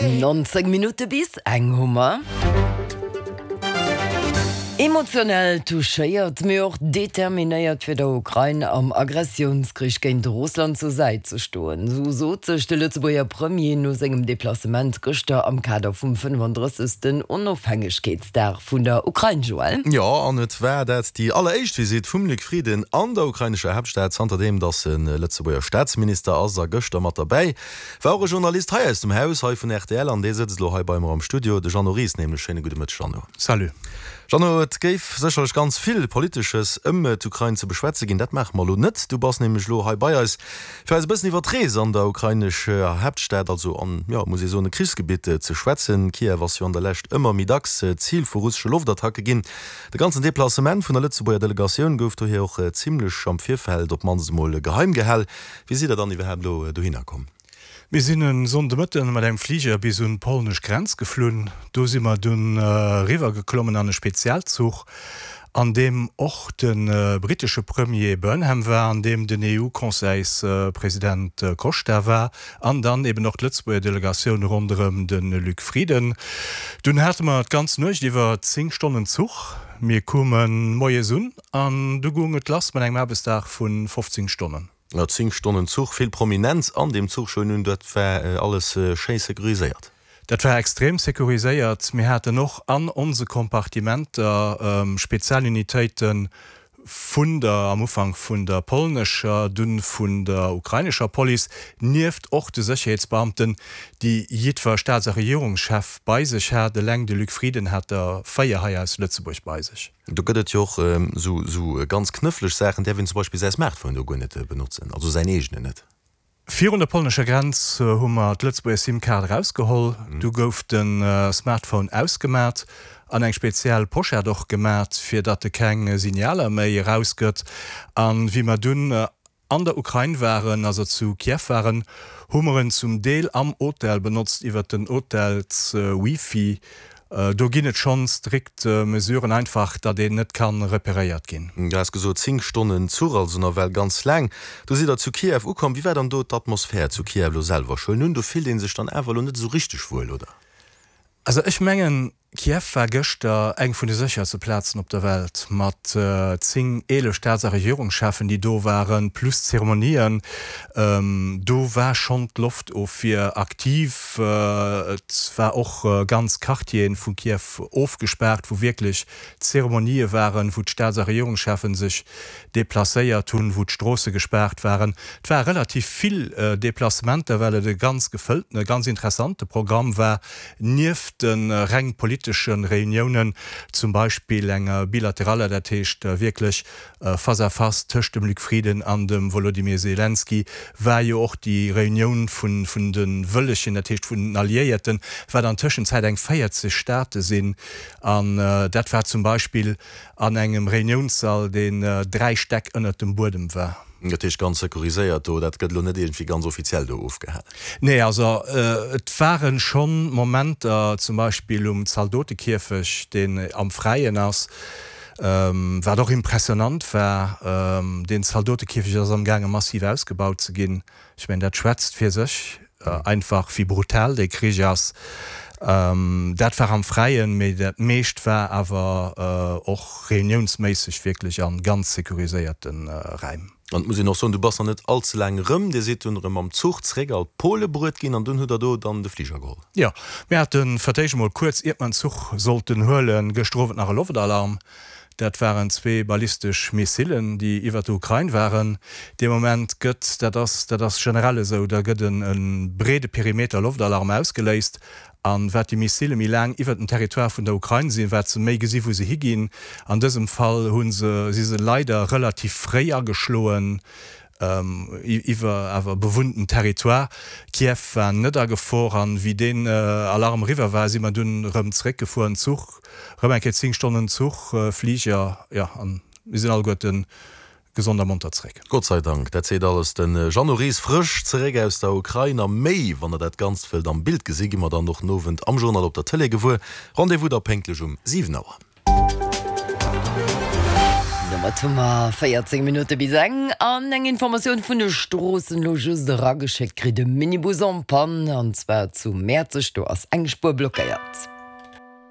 19 Minutte bis eng hu mer. Emotionell touchéiert, mee och determinéiert fir der Ukrain am Agressiounskrich géint Russland zur Säit ze stoen, esou sot sech de Lëtzebuerger Premier no sengem Deplacement gëschter am Kader vum 35. Onofhängegkeetsdag vun der Ukrain. Joël. Jo, an et war dat déi alleréischt Visitt vum Luc Frieden an der ukrainescher Haaptstad, zanterdeem datt e Lëtzebuerger Staatsminister ass. A gëschter mat derbäi War och e Journalist hei aus dem Haus, hei vun rtl, an dee sëtzt elo hei bei mer am Studio, de Jeannot Ries nämlech. Schéine gudde Mëtteg, Jeannot. Salut. Jeannot, et géif sécherlech ganz vill Politesches ëm d'Ukrain ze beschwätze ginn. Dat maache mer elo net. Du bass nämlech elo hei bei eis, fir eis e bëssen iwwer d'Rees an der ukrainescher Haaptstad, also an, jo, muss ee soen, e Krichsgebitt, ze schwätzen. Kiew ass jo an der Lescht ëmmer méi dacks Zil vu russesche Loftattacke ginn. De ganzen Deplacement vun der Lëtzebuerger Delegatioun gouf dohier och zimmlech am Virfeld op d'mannst emol geheim gehal. Wéi sidd der dann iwwerhaapt elo dohinner komm? Mir sinn e Sonndemëtten mat engem Fliger bis un d'polnesch Grenz geflunn. Do si mer dunn eriwwer geklommen an e Spezialzuch, an deem och de brittesche Premier Burnham war, an deem den EU-Conseilspresident Costa war an dann eben och d'Lëtzebuerger Delegatioun ronderëm de Luc Frieden. Dunn hate mer d'ganz Nuecht iwwer 10 Stonnen Zuch. Mir koume moies un An du goung et lass mat engem Aarbechtsdag vu 15 Stonnen. No 10 Stonnen Zuch, vill Prominenz an deem Zuch schon un, dat war alles schéi securiséiert. Dat war extrem securiséiert. Mir haten och an onse Kompartimenter Spezialunitéite vun der, am Ufank vun der polnescher, dunn vun der ukrainescher Police, nieft och de Sécherheetsbeamten, déi jiddwer Staats a Regierungschef bei sech hat. Eleng de Luc Frieden hat der 4 hei aus Lëtzebuerg bei sech. Do gëtt et jo och esou ganz knëffleg Saachen, däerf een zum Beispill säi Smartphone do guer net benotzen, also säin eegenen net. Virun der polnescher Grenz hu mer d'Lëtzebuerger SIM-Kaart erausgeholl. Du gouf de Smartphone ausgemat an eng speziell Pochette och gemat, fir datt e keng Signaler méi erausgëtt. A wéi mer dunn an der Ukrain waren, also zu Kiew waren, hu mer en zum Deel am Hotel benotzt iwwert den Hotels-Wifi. Do ginn et schonn strikt Mesuren, einfach datt een net ka reperéiert ginn. Du has gesot 10 Stonnen Zuch, also nawell ganz laang. Du sidd der zu Kiew ukomm. Wéi war dann do d'Atmosphär zu Kiew elo selwer? Ech huelen un, do fillt ee sech dann awer elo net esou richteg wuel, oder? Also ech mengen, Kiew war gëschter eng vun de sécherste Plazen op der Welt, mat 10, 11 Staats a Regierungscheffen, déi do waren, plus Zeremonien. Do war schonn d'Loftofwier aktiv. Et war och ganz Quartieren vu Kiew ofgespaart, wou wierklech Zeremonië waren, wou d'Staats a Regierungscheffen sech deplacéiert hunn, wou d'Stroosse gespaart waren. Et ware relativ vill Deplacementer, well et e ganz gefëlltene, ganz interessante Programm war. Nieft de reng politesche Reuniounen, zum Beispill enger bilateraler, dat heescht wierklech face à face tëscht dem Luc Frieden an dem Wolodymyr Selenskyj, war jo och déi Reunioun vun de Wëllegen, dat heescht vun den Alliéierten, wat an Tëschenzäit eng 40 Staate sinn. An dat war zum Beispill an engem Reuniounssall, deen 3 Stäck ënnert dem Buedem war. Dat heescht ganz securiséiert do, dat gëtt elo net iergendwéi ganz offiziell do ofgehalen? Nee, also et ware schonn Momenter, zum Beispill um Zaldotekierfecht, deen am Fräien ass, wat och impressionant war. Deen Zaldotekierfecht ass amgaange massiv ausgebaut ze ginn. Ech mengen, dat schwätzt fir sech, einfach wéi brutal dee Krich ass. Dat war am Fräien, mee dat meescht war awer och reuniounsméisseg wierklech a ganz securiséierte Räim. An et muss een och soen, du bass nach net all ze laang erëm, Dir sidd dunn erëm mam Zuch zeréck al Pole bruet ginn an dunn hutt Der do dann de Fliger geholl. Jo, mir hate fir d'éischt emol kuerz iert mer en Zuch sollten huelen, gëschter Owend nach e Loftalarm. Dat waren zwee ballistesch Missilen, déi iwwert der Ukrain waren. Dee Moment gëtt, dat ass, dat ass generell esou, da gëtt e breede Perimeter Loftalarm ausgeléist. A wat déi Missile méi laang iwwert dem Territoire vun der Ukrain sinn, wat se méi gesi wou se higinn. An dësem Fall hu se, si se leider relativ fréi ageschloen iwwer awer bewunnten Territoire. Kiew war net a Gefor an wéi deen Alarm eriwwer war, si mer dunn erëm zeréckgefuer an Zuch, erëm eng Kéier 10 Stonnen Zuch, Fliger, jo an mir sinn alleguerten gesond a monter zeréck. Gott sei Dank, dat seet alles. De Jeannot Ries frësch zeréck aus der Ukrain a méi, wann der dat Ganzt wëllt am Bild gesinn, gi mer dann och den Owend am Journal op der Tëlee gewuer. Rendez-vous da pénktlech um 7 Auer. Domat hu mer 14 Minutte bis eng an eng Informatioun vun de Stroossen elo just erageschéckt kritt, e Minibus en panne an zwar zu Mäerzeg, do ass eng Spuer blockéiert.